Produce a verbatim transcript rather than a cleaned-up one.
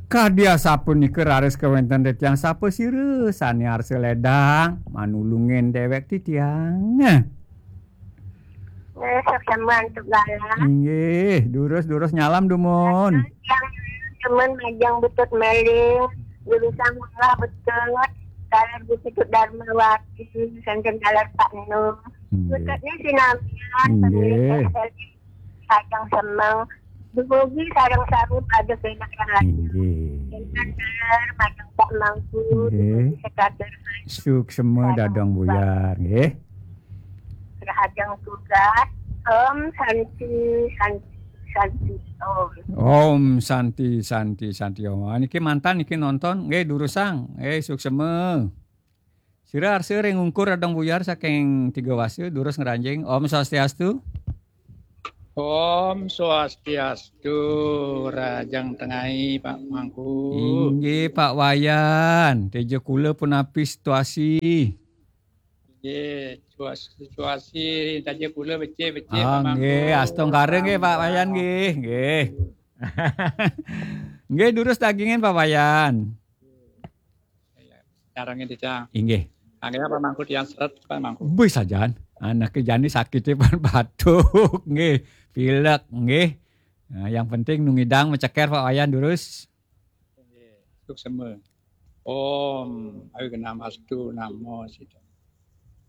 Kadi asapunika raris kawenten titiang, sapa sira sane arsa ledang manulungin dewek titiang? Nggih, suksma antuk galah. Inggih, durus-durus nyalam dumun. Yang demen majeng betut meling, durusang manglah betut, taler Gusti Darmawati, santen taler Pak Enung. Inggih. Betutnya sinamian, inggih. Pemilik S L I, sajeng semeng. Dumugi sareng sami pada kenak yang lain. Inggih. Intan taler majeng Pak Mangku, inggih. Dumugi sekatur. Suksma Dadong Buyar, nggih. Rahajeng tugas. Om Santi, Santi, Santi, Om. Om Santi, Santi, Santi, Om. Ah, niki mantan niki nonton, nggih, durusang, nggih, suksma. Sira arsa ring ungkur Dadong Buyar saking Tiga Wasa, durus ngranjing. Om Swastiastu. Om Swastiastu, rahajeng tengai, Pak Mangku. Inggih, Pak Wayan, teja kula punapi situasi? Nggih, situasi, situasi taja kula becik-becik, ah, Pak Mangku. Nggih, astungkara nggih, Pak Wayan nggih, nggih. Nggih, durus dagingin, Pak Wayan. Nyarengin titiang. Inggih. Akhirnya Pak Mangku tiang seret, Pak Mangku. Wih, sajan. Anake jani sakite pan batuk, nggih, pilek, nggih. Nah, yang penting nu ngidang meceker, Pak Wayan, durus. Nggih, suksma. Om, ayo namastu, namo, sida.